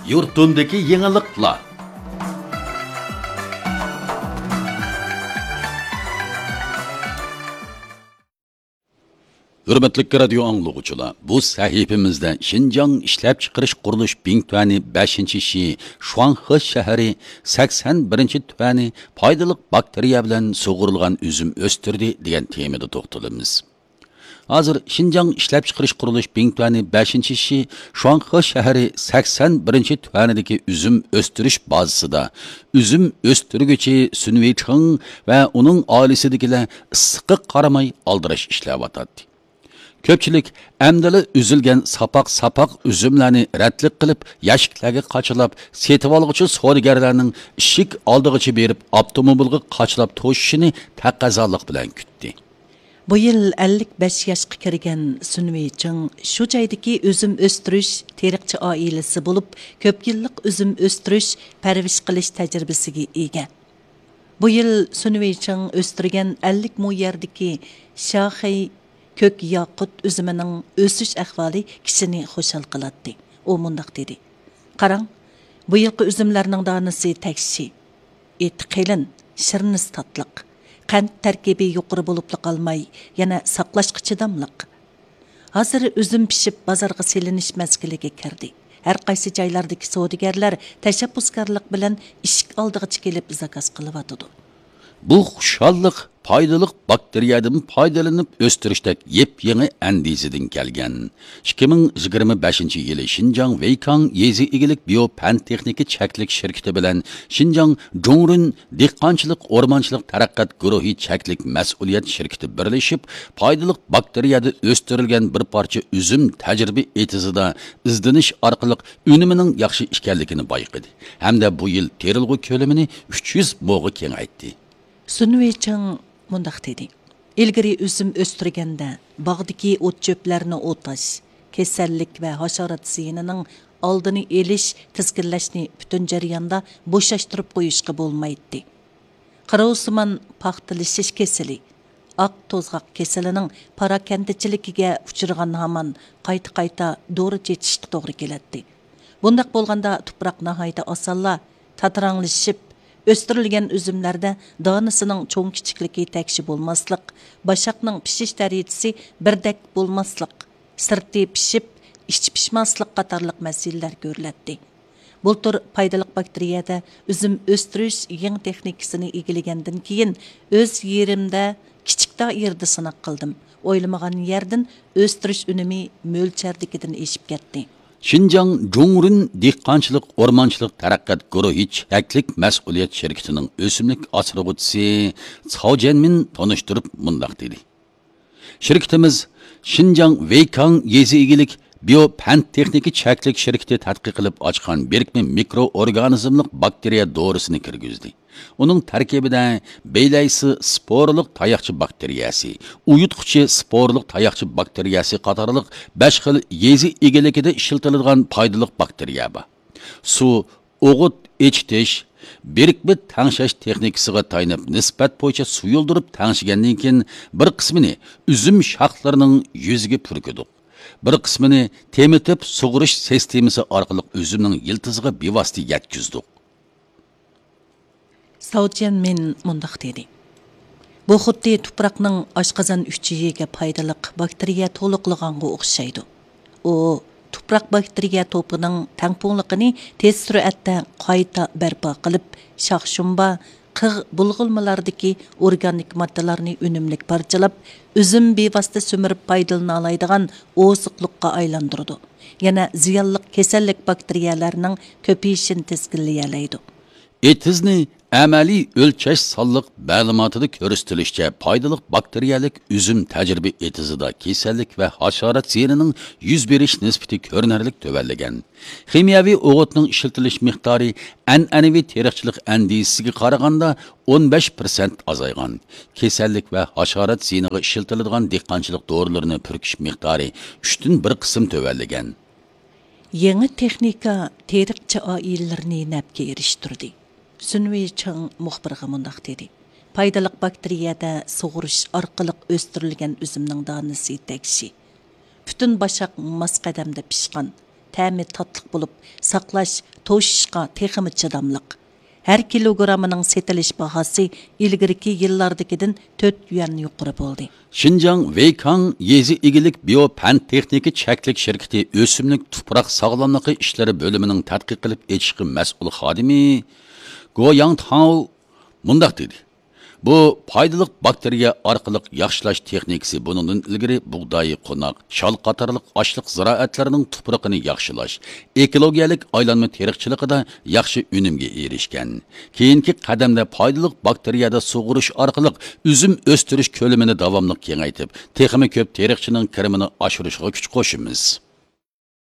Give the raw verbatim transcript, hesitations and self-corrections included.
يۇرتۇمدىكى يېڭىلىقلار. ھۆرمەتلىك رادىيو ئاڭلىغۇچىلار، بۇ سەھىپىمىزدە شىنجاڭ ئىشلەپچىقىرىش قۇرۇلۇش بىڭتۈەنى بەشىنچى شى شۇاڭخې شەھىرى سەكسەن بىرىنچى تۈەنى پايدىلىق باكتېرىيە بىلەن سۇغۇرۇلغان ئۈزۈم ئۆستۈردى دېگەن تېمىدا توختىلىمىز. ھازىر شىنجاڭ ئىشلەپچىقىرىش قۇرۇلۇش بىڭتۈەنى بەشىنچى شى شۇاڭخې شەھىرى سەكسەن بىرىنچى تۈەنىدىكى ئۈزۈم ئۆستۈرۈش بازىسىدا ئۈزۈم ئۆستۈرگۈچى سۈن ۋېيچىڭ ۋە ئۇنىڭ ئائىلىسىدىكىلەر ئىسسىققا قارىماي ئالدىراش ئىشلەۋاتاتتى. كۆپچىلىك ئەمدىلا ئۈزۈلگەن ساپاق-ساپاق ئۈزۈملەرنى رەتلىك قىلىپ، يەشىكلەرگە قاچىلاپ، سېتىۋالغۇچى سودىگەرلەرنىڭ ئىشىك ئالدىغىچە بېرىپ، ئاپتوموبىلغا قاچىلاپ توشۇشىنى تەقەززالىق بىلەن كۈتتى. بۇ يىل ئەللىك بەش ياشقا كىرگەن سۈن ۋېيچىڭ شۇ جايدىكى ئۈزۈم ئۆستۈرۈش تېرىقچى ئائىلىسى بولۇپ، كۆپ يىللىق ئۈزۈم ئۆستۈرۈش، پەرۋىش قىلىش تەجرىبىسىگە ئىگە. بۇ يىل سۈن ۋېيچىڭ ئۆستۈرگەن ئەللىك مو يەردىكى شاخەي كۆك ياقۇت ئۈزۈمىنىڭ ئۆسۈش ئەھۋالى كىشىنى خۇشال قىلاتتى. ئۇ مۇنداق دېدى: «قاراڭ، بۇ يىلقى ئۈزۈملەرنىڭ دانىسى تەكشى، ئېتى قېلىن، شىرنىسى تاتلىق، قەنت تەركىبى يۇقىرى بولۇپلا قالماي، يەنە ساقلاشقا چىداملىق. ھازىر ئۈزۈم پىشىپ، بازارغا سېلىنىش مەزگىلىگە كىردى. ھەر قايسى جايلاردىكى سودىگەرلەر تەشەببۇسكارلىق بىلەن ئىشىك ئالدىغىچە كېلىپ زاكاز قىلىۋاتىدۇ.» بۇ خۇشاللىق پايدىلىق باكتېرىيەدىن پايدىلىنىپ ئۆستۈرۈشتەك يېپيېڭى ئەندىزىدىن كەلگەن. ئىككى مىڭ يىگىرمە بەشىنچى يىلى شىنجاڭ ۋېيكاڭ يېزا ئىگىلىك بىيو پەن تېخنىكا چەكلىك شىركىتى بىلەن شىنجاڭ جۇڭرۇن دېھقانچىلىق ئورمانچىلىق تەرەققىيات گۇرۇھى چەكلىك مەسئۇلىيەت شىركىتى بىرلىشىپ، پايدىلىق باكتېرىيەدە ئۆستۈرۈلگەن بىر پارچە ئۈزۈم تەجرىبە ئېتىزىدا ئىزدىنىش ئارقىلىق ئۈنۈمىنىڭ ياخشى ئىكەنلىكىنى بايقىدى ھەمدە بۇ يىل تېرىلغۇ كۆلىمىنى ئۈچ يۈز موغا كېڭەيتتى. سۈن ۋېيچىڭ مۇنداق دېدى: «ئىلگىرى ئۈزۈم ئۆستۈرگەندە، باغدىكى ئوت-چۆپلەرنى ئوتاش، كېسەللىك ۋە ھاشارات زىيىنىنىڭ ئالدىنى ئېلىش، تىزگىنلەشنى پۈتۈن جەرياندا بوشاشتۇرۇپ قويۇشقا بولمايتتى. قىروۋسىمان پاختىلىشىش كېسىلى، ئاق توزغاق كېسىلىنىڭ پاراكەندىچىلىكىگە ئۇچرىغان ھامان قايتا-قايتا دورا چېچىشقا توغرا كېلەتتى. بۇنداق بولغاندا تۇپراق ناھايىتى ئاسانلا تاتىراڭلىشىپ، ئۆستۈرۈلگەن ئۈزۈملەردە دانىسىنىڭ چوڭ-كىچىكلىكى تەكشى بولماسلىق، باشاقنىڭ پىشىش دەرىجىسى بىردەك بولماسلىق، سىرتى پىشىپ، ئىچى پىشماسلىق قاتارلىق مەسىلىلەر كۆرۈلەتتى. بۇلتۇر پايدىلىق باكتېرىيەدە ئۈزۈم ئۆستۈرۈش يېڭى تېخنىكىسىنى ئىگىلىگەندىن كېيىن، ئۆز يېرىمدە كىچىك دائىرىدە سىناق قىلدىم. ئويلىمىغان يەردىن ئۆستۈرۈش ئۈنۈمى مۆلچەردىكىدىن ئېشىپ كەتتى.» شىنجاڭ جۇڭرۇن دېھقانچىلىق ئورمانچىلىق تەرەققىيات گۇرۇھى چەكلىك مەسئۇلىيەت شىركىتىنىڭ ئۆسۈملۈك ئاسرىغۇچىسى چاۋ جيەنمىن تونۇشتۇرۇپ مۇنداق دېدى: «شىركىتىمىز شىنجاڭ ۋېيكاڭ يېزا ئىگىلىك بىيو پەن تېخنىكا چەكلىك شىركىتى تەتقىق قىلىپ ئاچقان بىرىكمە مىكرو ئورگانىزملىق باكتېرىيە دورىسىنى كىرگۈزدى. ئۇنىڭ تەركىبىدە بېيلەيسى سپورلۇق تاياقچە باكتېرىيەسى، ئۇيۇتقۇچى سپورلۇق تاياقچە باكتېرىيەسى قاتارلىق بەش خىل يېزا ئىگىلىكىدە ئىشلىتىلىدىغان پايدىلىق باكتېرىيە بار. سۇ ئوغۇت ئېچىتىش، بىرىكمە تەڭشەش تېخنىكىسىغا تايىنىپ، نىسبەت بويىچە سۇيۇلدۇرۇپ تەڭشىگەندىن كېيىن، بىر قىسمىنى ئۈزۈم شاخلىرىنىڭ يۈزىگە پۈركىدۇق. بىر قىسمىنى تېمىتىپ سۇغۇرۇش سىستېمىسى ئارقىلىق ئۈزۈمنىڭ يىلتىزىغا بىۋاسىتە يەتكۈزدۇق.» ساۋ جيەنمىن مۇنداق دېدى: «بۇ خۇددى تۇپراقنىڭ ئاشقازان ئۈچىيىگە پايدىلىق باكتېرىيە تولۇقلىغانغا ئوخشايدۇ. ئۇ تۇپراق باكتېرىيە توپىنىڭ تەڭپۇڭلۇقىنى تېز سۈرئەتتە قايتا بەرپا قىلىپ، شاخ-شۇمبا، قىغ بۇلغىنمىلاردىكى ئورگانىك ماددىلارنى ئۈنۈملۈك پارچىلاپ، ئۈزۈم بىۋاسىتە سۈمۈرۈپ پايدىلىنالايدىغان ئوزۇقلۇققا ئايلاندۇرىدۇ. يەنە زىيانلىق كېسەللىك باكتېرىيەلەرنىڭ كۆپىيىشىنى تىزگىنلىيەلەيدۇ.» ئېتىزنى ئەمەلىي ئۆلچەش سانلىق مەلۇماتىدا كۆرسىتىلىشىچە، پايدىلىق باكتېرىيەلىك ئۈزۈم تەجرىبە ئېتىزىدا كېسەللىك ۋە ھاشارات زىيىنىنىڭ يۈز بېرىش نىسبىتى كۆرۈنەرلىك تۆۋەنلىگەن. خىمىيەۋى ئوغۇتنىڭ ئىشلىتىلىش مىقدارى ئەنئەنىۋى تېرىقچىلىق ئەندىزىسىگە قارىغاندا ئون بەش پىرسەنت ئازايغان. كېسەللىك ۋە ھاشارات زىيىنىغا ئىشلىتىلىدىغان دېھقانچىلىق دورىلىرىنى پۈركۈش مىقدارى ئۈچتىن بىر قىسىم تۆۋەنلىگەن. يېڭى تېخنىكا تېرىقچى ئائىلىلىرىنى نەپكە ئېرىشتۈردى. سۈن ۋېيچىڭ مۇخبىرغا مۇنداق دېدى: «پايدىلىق باكتېرىيەدە سۇغۇرۇش ئارقىلىق ئۆستۈرۈلگەن ئۈزۈمنىڭ دانىسى تەكشى. پۈتۈن باشاق ماس قەدەمدە پىشقان. تەمى تاتلىق بولۇپ، ساقلاش، توشۇشقا تېخىمۇ چىداملىق. ھەر كىلوگراممىنىڭ سېتىلىش باھاسى ئىلگىرىكى يىللاردىكىدىن تۆت يۈەن يۇقىرى بولدى. شىنجاڭ ۋېيكاڭ يېزا ئىگىلىك بىيو پەن تېخنىكا چەكلىك شىركىتى ئۆسۈملۈك تۇپراق ساغلاملىقى ئىشلىرى بۆلۈمىنىڭ تەتقىق قىلىپ ئېچىشقا مەسئۇل خادىمى گو ياڭ تاۋ مۇنداق دېدى: بۇ پايدىلىق باكتېرىيە ئارقىلىق ياخشىلاش تېخنىكىسى بۇنىڭدىن ئىلگىرى بۇغداي، قوناق، شال قاتارلىق ئاشلىق زىرائەتلىرىنىڭ تۇپرىقىنى ياخشىلاش، ئېكولوگىيەلىك ئايلانما تېرىقچىلىقىدا ياخشى ئۈنۈمگە ئېرىشكەن. كېيىنكى قەدەمدە پايدىلىق باكتېرىيەدە سۇغۇرۇش ئارقىلىق ئۈزۈم ئۆستۈرۈش كۆلىمىنى داۋاملىق كېڭەيتىپ، تېخىمۇ كۆپ تېرىقچىنىڭ كىرىمىنى ئاشۇرۇشىغا كۈچ قوشىمىز.